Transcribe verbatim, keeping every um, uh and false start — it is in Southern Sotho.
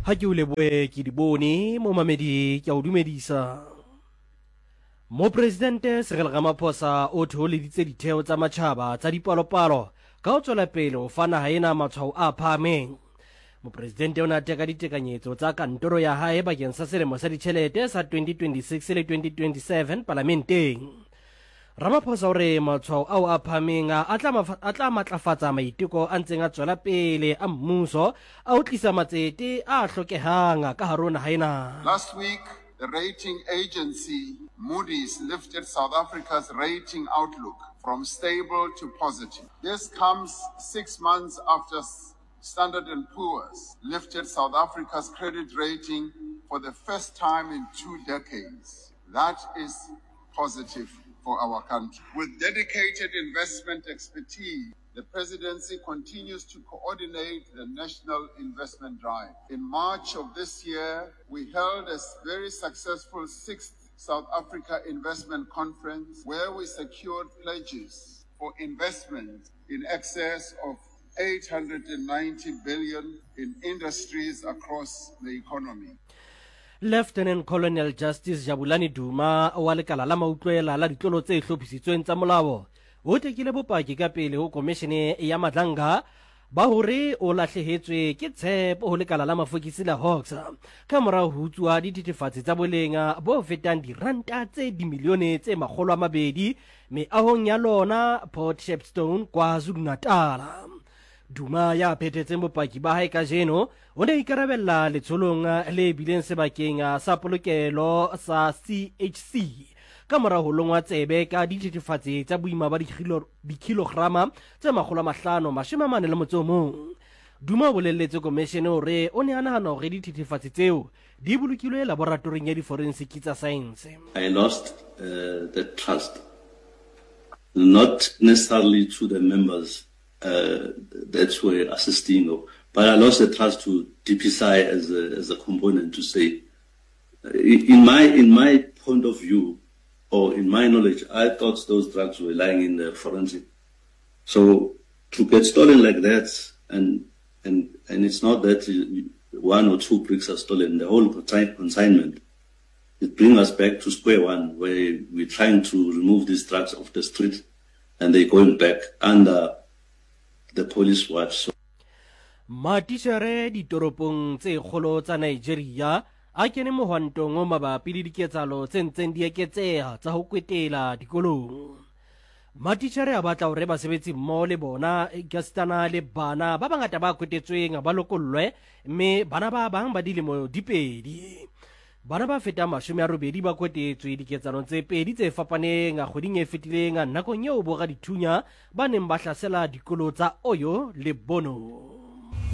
Ha ke o lebohe ke di bone momamedi ke a o dumedisa. Mopresidente Cyril Ramaphosa o thoholeditse ditheo tsa matjhaba tsa dipalopalo ka ho tswela pele ho fa naha ena matshwao a phahameng. Mopresidente o ne a teka ditekanyetso tsa kantoro ya hae bakeng sa selemo sa ditjhelete sa twenty twenty-six le twenty twenty-seven palamenteng. Ramaphosa o re matshwao ao a phahameng a tla a tla matlafatsa maiteko a ntseng a tswela pele a mmuso a ho tlisa matsete a hlokehang ka hare ho naha ena. Last week, the rating agency Moody's lifted South Africa's rating outlook from stable to positive. This comes six months after Standard and Poor's lifted South Africa's credit rating for the first time in two decades. That is positive for our country. With dedicated investment expertise, the presidency continues to coordinate the national investment drive. In March of this year, we held a very successful sixth South Africa Investment Conference, where we secured pledges for investment in excess of eight hundred ninety billion in industries across the economy. Lieutenant Colonel Justice Jabulani Duma wa lekala la mautlwela la ditlolo tse hlophisitsweng tsa molao o tekile bopaki ka pele ho komishene ya Madlanga ba hore o lahlehetswe ke tshepo ho lekala la mafokisi la Hawks ka morao ho utswa dithethefatsi tsa boleng bo fetang diranta tse dimilione tse makgolo a mabedi meahong ya lona Port Shepstone, KwaZulu-Natal. Duma ya phethetseng bopaki ba hae kajeno o ne ikarabella letsholong le bileng sebakeng sa polokelo sa C H C ka mora ho longwa tsebe ka dithethefatsi tsa boima ba dikilograma tse makgolo a mahlano mashome a mane le motso o mong. Duma o bolelletse komishene hore o ne a nahana hore dithethefatsi tseo di bolokilwe laboratoring ya diforensiki tsa saense. I lost uh, the trust, not necessarily to the members uh, that were assisting, but I lost the trust to D P S I as a, as a component to say, in my, in my point of view, or in my knowledge, I thought those drugs were lying in the forensic. So to get stolen like that, and, and, and it's not that one or two bricks are stolen, the whole consignment, it brings us back to square one, where we're trying to remove these drugs off the street, and they're going back under the police watch. So Matitjhere ditoropong tse kgolo tsa Nigeria a kene mohwantong o mabapi le diketsahalo tse ntseng di eketseha tsa ho kwetela dikolong. Matitjhere a batla hore basebetsi mmoho le bona ekasitana le bana ba bangata ba kwetetsweng ba lokollwe, mme bana ba bang ba dilemo di pedi. Bana ba fetang mashome a robedi ba kwetetswe diketsahalong tse pedi tse fapaneng kgweding e fetileng nakong eo boradithunya ba neng ba hlasela dikolo tsa Oyo le Bono.